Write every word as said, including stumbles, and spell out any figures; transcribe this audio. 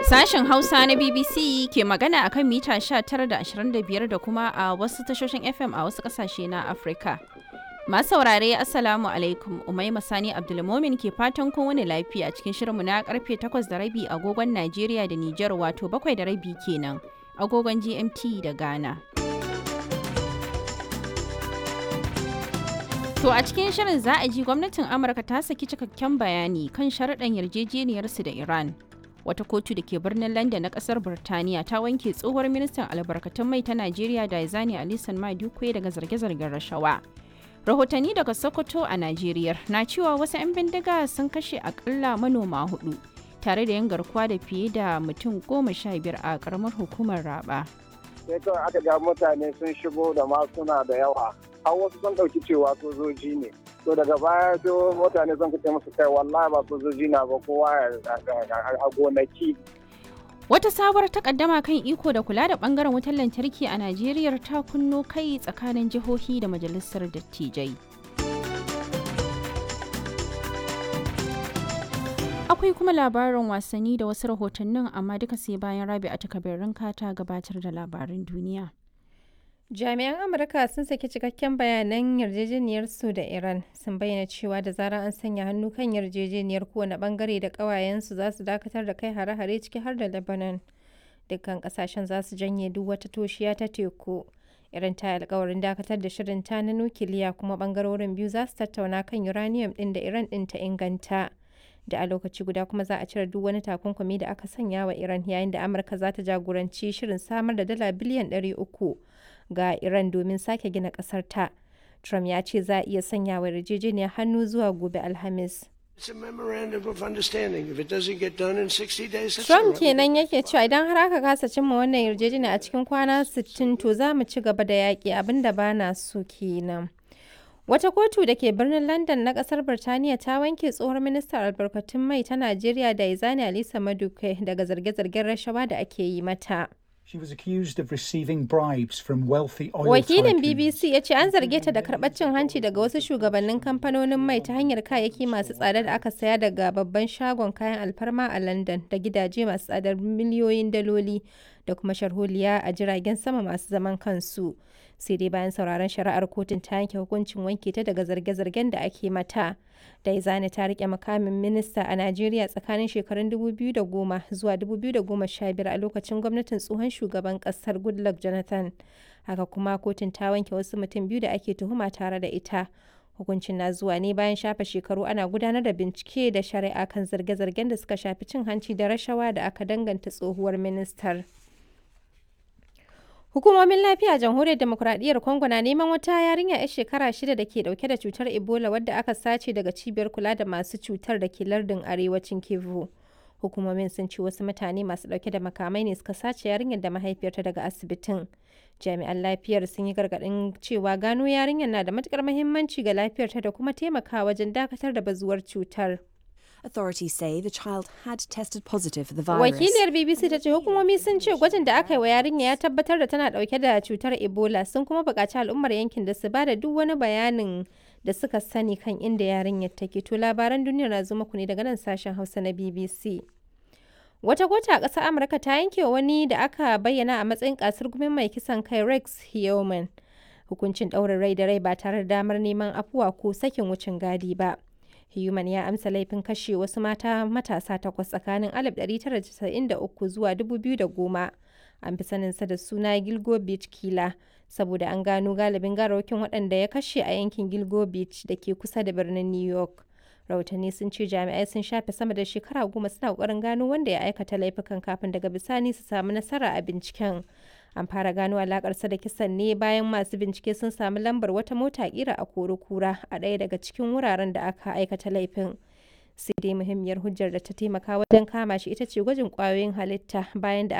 Sashen Hausa na B B C ke magana akan mita sha tara da ashirin da biyar da kuma a wasu tashoshin F M a wasu kasashe na Afirka. Masu saurare, Assalamu alaikum. Umaima Sani Abdulmomin ke fatan kowane lafiya cikin shirinmu na karfe takwas da rabi agogon Najeriya da Nijar, wato bakwai da rabi kenan agogon G M T da Ghana. To, a cikin shirin za a ji gwamnatin Amurka ta saki cikakken bayani kan sharaɗan yarjejeniyarsu da Iran. Wata kotu da ke birnin London na kasar Birtaniya ta wanke tsohuwar ministan albarkatun mai ta Najeriya Diezani Alison Maduekwe daga zarge-zargen rashawa. Rahotanni daga Sokoto a Najeriya na cewa wasu 'yan bindiga sun kashe akalla manoma hudu tare da yin garkuwa da fiye da mutum goma sha biyar a karamar hukumar Raba. Sai kawai aka ga mutane sun shigo da masuna da yawa, har wasu sun ɗauki cewa sojoji ne. To, daga baya sai mutane sun kace musu, "Kai, wallahi ba sojoji na ba, kowa a gonaki." Wata sabuwar takaddama kan iko da kula da bangaren wutar lantarki a Najeriya ta kunno kai tsakanin jihohi da majalisar dattijai. Akwai kuma labarin wasanni da wasu rahotannin, amma duka sai bayan Rabi a takabirin ta gabatar da labarin duniya. Jami'an Amurka sun saki cikakken bayanan yarjejeniyarsu da Iran, sun bayyana cewa da zarar an sanya hannu kan yarjejeniyar, kowane bangare da ƙawayensu za su dakatar da kai hare-hare, ciki har da Lebanon. Dukkan ƙasashen za su janye duk wata toshiya ta teku. Iran ta yi alkawarin dakatar da shirin ta na nukiliya, kuma bangarorin biyu za su tattauna kan uranium ɗin da Iran ɗin ta inganta. Da a lokaci guda kuma za a cire duk wani takunkumi da aka sanya wa Iran, yayin da Amurka za ta jagoranci shirin samar da dala biliyan ɗari uku ga Iran domin sake gina ƙasar ta. Trump ya ce za a iya sanya wa yarjejeniyar hannu zuwa gobe Alhamis. Trump kenan yake cewa idan har aka kasa cimma wannan yarjejeniya a cikin kwana sittin, to za mu ci gaba da yaƙi, abinda ba na so kenan. Wata kotu da ke birnin London na kasar Birtaniya ta wanke tsohon ministan albarkatun mai ta Najeriya Diezani Alisa Maduke daga zarge-zargen rashawa da ake yi mata. She was accused of receiving bribes from wealthy oil Wakilin tycoons. B B C ya ce an zarge ta da karɓar cin hanci daga wasu shugabannin kamfanonin mai ta hanyar kayayyaki masu tsada da aka saya daga babban shagon kayan alfarma a London, da gidaje masu tsadar miliyoyin daloli, da kuma sharholiya a jiragen sama masu zaman kansu. Sai dai bayan sauraron shari'ar, kotun ta yanke hukuncin wanke ta daga zarge-zargen da ake mata. Daizani ta rike mukamin minista a Najeriya tsakanin shekarun dubu biyu da goma zuwa dubu biyu da goma sha biyar a lokacin gwamnatin tsohon shugaban kasar Goodluck Jonathan. Haka kuma kotun ta wanke wasu mutum biyu da ake tuhuma tare da ita. Hukuncin na zuwa ne bayan shafe shekaru ana gudanar da bincike da shari'a kan zarge-zargen da suka shafi cin hanci da rashawa da aka danganta tsohuwar ministar. Hukumomin lafiya a Jamhuriyar Demokuraɗiyyar Congo na neman wata yarinya 'yar shekara shida da ke dauke da cutar Ebola wadda aka sace daga cibiyar kula da masu cutar da ke lardin arewacin Kivu. Hukumomin sun ce wasu mutane masu dauke da makamai ne suka sace yarinyar da mahaifiyarta daga asibitin. Jami'an lafiyar sun yi gargaɗin cewa gano yarinyar na da matukar muhimmanci ga lafiyarta da kuma taimakawa wajen dakatar da bazuwar cutar. Authorities say the child had tested positive for the virus. Wakiliyar B B C ta ce hukumomi sun ce gwajin da aka yi wa yarinya ya tabbatar da tana dauke da cutar Ebola, sun kuma buƙaci al'ummar yankin da su ba da duk wani bayanin da suka sani kan inda yarinyar take. To, labaran duniya na zo muku ne daga nan sashen Hausa na B B C. Wata kotu a ƙasar Amurka ta yanke wa wani da aka bayyana a matsayin kasar gumin mai kisan kai Rex Heoman hukuncin ɗaurin rai da rai ba tare da damar neman afuwa ko sakin wucin gadi ba. Human ya amsa laifin kashe wasu mata matasa takwas tsakanin alif ɗari tara da casa'in da uku zuwa dubu biyu da goma. An fi saninsa da suna Gilgo Beach Killer saboda an gano galibin gawarwakin waɗanda ya kashe a yankin Gilgo Beach da ke kusa da birnin New York. Rahotanni sun ce jami'ai sun shafe sama da shekara goma suna ƙoƙarin gano wanda ya aikata laifukan kafin daga bisani su samu nasara a binciken. An fara gano alakarsa da kisan ne bayan masu bincike sun samu lambar wata mota kira a kura a ɗaya daga cikin wuraren da aka aikata laifin. Sai dai muhimmiyar hujjar da ta taimaka wajen kama shi ita ce gwajin kwayoyin halitta bayan da